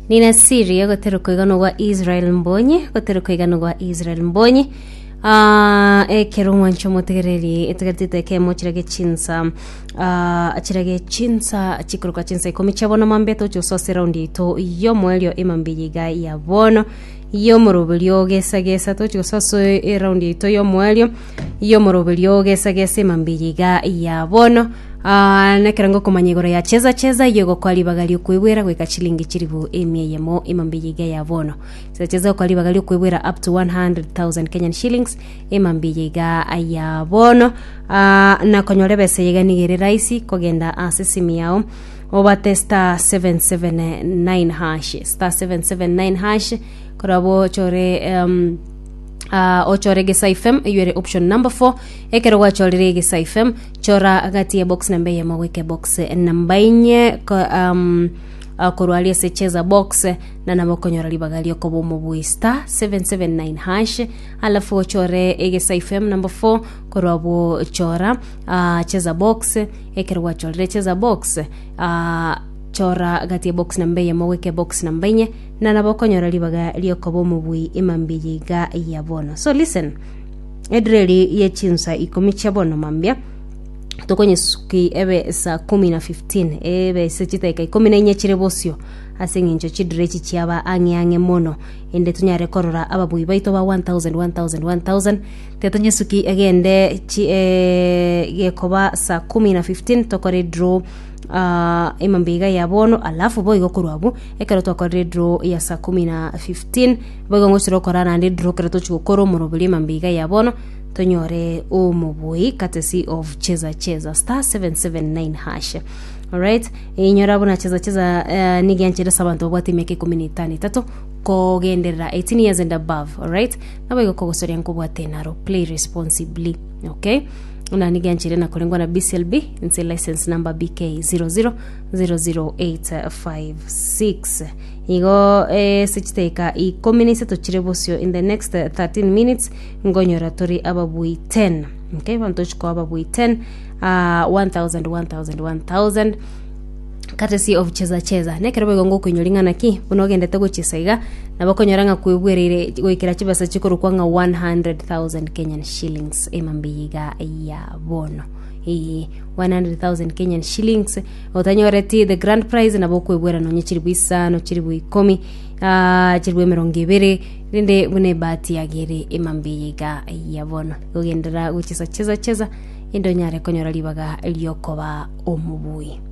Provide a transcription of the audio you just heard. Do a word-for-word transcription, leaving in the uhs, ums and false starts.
Nina siri ogotera koigano gwa Israel Mbonyi, ogotera koigano gwa Israel Mbonyi. Ah, ekero omwancho omotegereri etegerete ekemo chirage chinsa ah, chirage chinsa chikoroka chinsa ikomi chia bono mambe toche ase raundi yaito yomoerio emambe iga ya bono yomoroberio gesa gesa toche gosoa ase eraundi yaito yomoerio yomoroberio gesa gesa emambe iga ya bono. Ah, nekero ngokomanya igoro ya cheza cheza iyo egokwa ribaga riokoibwera goika chilingi chiribu emia eyemo emambe iga ya bono. Cheza cheza okwa ribaga riokoibwera up to one hundred thousand Kenyan shillings emambe iga ya bono. Ah, nakonyora ebesa iga nigo ere rahisi kogenda ase esimu yao obate star seven seven nine hash, star seven seven nine hash, korabo ochore um, uh, ochore Gesa F M eywo ere option number four. Ekero gwachorire Gesa F M, chora gati ya box namba eyemo goika box namba inye ko, um, uh, korwa aria ase cheza box, na nabo okonyora ribaga riokoba omobui, star seven seven nine hash, alafu ochore Egesa F M number four, korwa abwo chora uh, cheza box. Ekero gwachorire cheza box, uh, chora gati ya box namba eyemo goika box namba inye, na nabo okonyora ribaga riokoba omobui emambia iga ya bono. So listen, edireri ye chinsa ikomi chia bono mambia tokonyesuki ebe saa kumi na fifteen, ebe ase chidakika ikomi na inye chire bosio, ase eng'encho chidire echi chiaba ang'e ang'e mono, ende tonyare korora ababui baito ba one thousand one thousand one thousand. Tetonyesuki egende chi, eh, gekoba saa kumi na fifteen tokore draw uh, emambia iga ya bono. Alafu boigo korwa abwo, ekero twakorire draw ya saa kumi na fifteen, boigo ngochire okora naende draw ekero tochi gokora omoroberi emambia iga ya bono, tonyore omobui courtesy of cheza cheza, star seven seven nine hash. Alright, inyora buna cheza cheza uh, nigianchire ase abanto babwate emiaka ikomi na etano etato kogenderera, eighteen years and above. Alright, nabo igo kogosoria nkobwate naro, play responsibly, okay? Na nigianchire na korengwa na B C L B nse license number B K zero zero zero zero eight five six. Igo eh, ase chidakika ikomi na isato chire bosio, in the next eh, thirteen minutes, ngonyora tori ababui ten, okay? Banto chikoa ababui ten, uh, one thousand one thousand one thousand courtesy of cheza cheza. Nekero boigo ngokoinyora ng'ana ki buna ogendete gochesa iga, nabo okonyora ng'a kwebwereire goikera chibesa chikorokwa ng'a one hundred thousand Kenyan shillings emambe iga ya bono. Ee, one hundred thousand Kenyan shillings, otanyoreti the grand prize, nabo okwebwera nonye chiribu isano, chiribu ikomi, ah, chiribu emerongo ebere, rinde buna ebahati yagere emambe iga ya bono. Gogendera gochesa cheza cheza ende onyare konyora ribaga riokoba omobui.